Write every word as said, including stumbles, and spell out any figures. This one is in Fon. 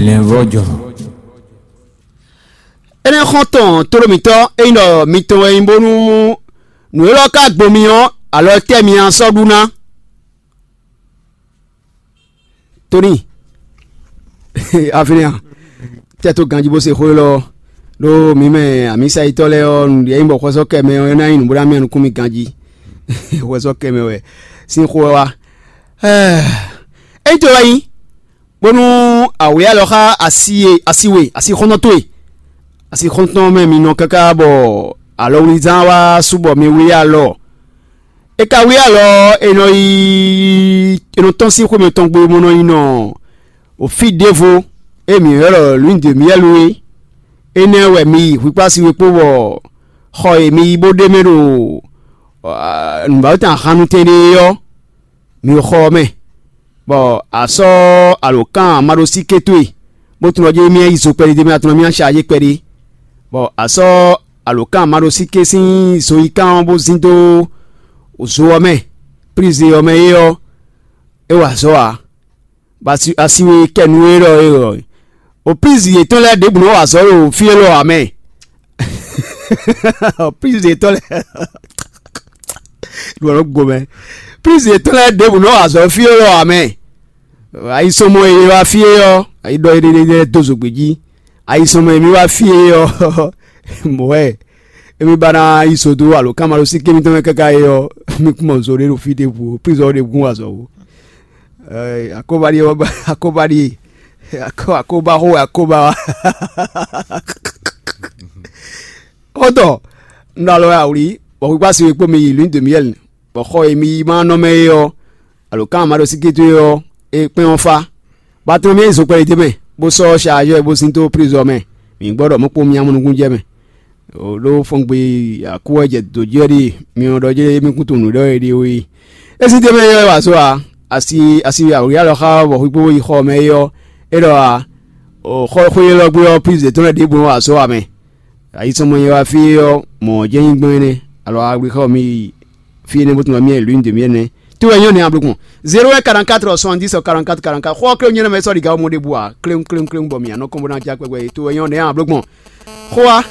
Lɛnvɔ́jɔ. Énɛ́ xɔ́ntɔn tlóló mǐtɔn, ényí ɖɔ mitɔn wɛ nyí bónú nǔ élɔ́ ka gbo mi ɔ́, alɔ tɛ́ mi a sɔ́ ɖu ná? Tóní, Afinia, tɛ́ tó ganjí bó se xó élɔ́ ɔ́, ɖó mǐ mɛ amǐsayitɔ́ lɛ́ɛ ɔ́, nǔɖé nyí bɔ xwɛsɔ́ kɛ mɛ ɔ́, é ná nyí nǔ bó ná mì anukún mi ganjí. Xwɛsɔ́ kɛ mɛ wɛ sín xó ɔ́ wá. Ényí to wɛ nyí, bónú awě alɔ xá asi e asi we asi xɔ́ntɔn towe, asi xɔ́ntɔn mɛ mi nɔ káká bɔ alɔwlizán wá sú bɔ mi wlí alɔ. È ka wlí alɔ ɔ́, è nɔ yi è nɔ tɔ́n sín xwé mɛtɔn gbe bó nɔ yi nɔ fí ɖěvo e mǐ ylɔ́ ɖɔ Lune de Miel é. Énɛ́ wɛ mi yi hwikpási we kpó bɔ xɔ e mi yi bó ɖ'é mɛ ɖo nǔbáwétan hannutɛn ɖé é ɔ́, mi xɔ ɔ́ mɛ, bɔ a sɔ́ alǒkan maɖósíké towe, bó tunwun ɔ́ jɛ émí yi zo kpɛɖé d'é mɛ, a tunwun émí ná ṣajé kpɛɖé, bɔ a sɔ́ alǒkan maɖósíké sín zoyíkan ɔ́ bó zín dó zo ɔ́ mɛ, plíze ɔ́ mɛ é ɔ́, é wa azɔ̌ ǎ. Bɔ asi asi we kɛ nú é ɖɔ é ɔ́, o plízi yětɔn lɛ́ɛ ɖěbǔ nɔ wa azɔ̌ ɖo fí élɔ́ ǎ mɛ. Plízi yětɔn lɛ́ɛ ɖu ɔ́ gomɛ. Plízi yětɔn lɛ́ɛ ɖěbǔ nɔ wa azɔ̌ fí élɔ́ ǎ mɛ. Ayi sɔmɔ e wá fí é ɔ́, ayi ɖɔ éɖéɖé lɛ́ɛ dó zǒgbé jí. Ayi sɔmɔ e mi wá fí é ɔ́, mɔ̌ wɛ émí ba ná yi so dó alǒkanmaɖósíké mitɔn mɛ káká é ɔ́, mi kún mɔ zo ɖé ɖo fí ɖěbǔ, plízɔ ɖě gún azɔ̌ ó. Akóba ɖíe wá ba akóba ɖíe akóba xó wɛ akóba wá. Xɔ́ntɔn, un ɖo alɔ wɛ awlí, bɔ xwígbá si we kpó mi yi Lune de Miel, bɔ xɔ e mi yi ma nɔ mɛ é ɔ́, alǒkanmaɖósíké towe ɔ́, é kpɛ́n ɔ́ fá. Bɔ a tunwun mì e zokpɛ́ ɖé mɛ, bó sɔ́ ṣaajɔ́ ɛ bó sín dó prizɔ́ mɛ. Mǐ gbɔ ɖɔ mɔ̌ kpó mì amɔnukún jɛ mɛ. Ɖó fɔngbe akú wɛ jɛ dǒ jí wɛ ɖíe mi nɔ ɖɔ jɛ́n émí kún tunwun nǔ ɖɔ è ɖe ó é. É sín tɛ́ mɛ é wɛ wa azɔ̌ ǎ. Asi asi awǐ alɔ xá bɔ xwíkpó yi xɔ mɛ é ɔ́, é ɖɔ ǎ. Xɔ xwé élɔ́ gbe ɔ́, plízi yětɔn lɛ́ɛ ɖěbǔ nɔ wa azɔ̌ ǎ mɛ. Ayi sɔmɔ e wá fí é ɔ́, mɔ̌ jɛ́n nyí gbɔn énɛ́, alɔ a gblí xá mi yi fí énɛ́ bó tunwun mì Lune de Miel nɛ́. Tó wɛ nyɔ́ nɛ́ a bló gbɔn. Zéro un quarante-quatre soixante-dix quarante-quatre quarante-quatre. Xɔ ɔ́ klé nyɔ́ nɛ́ mɛ sɔ́ ɖi gǎ mɔ ɖěbǔ ǎ. Kléŋ kléŋ kléŋ bɔ mì anɔ kɔn bó ná já kpɛgbɛ é. Tó wɛ nyɔ́ nɛ́ a bló gbɔn. Xó wá.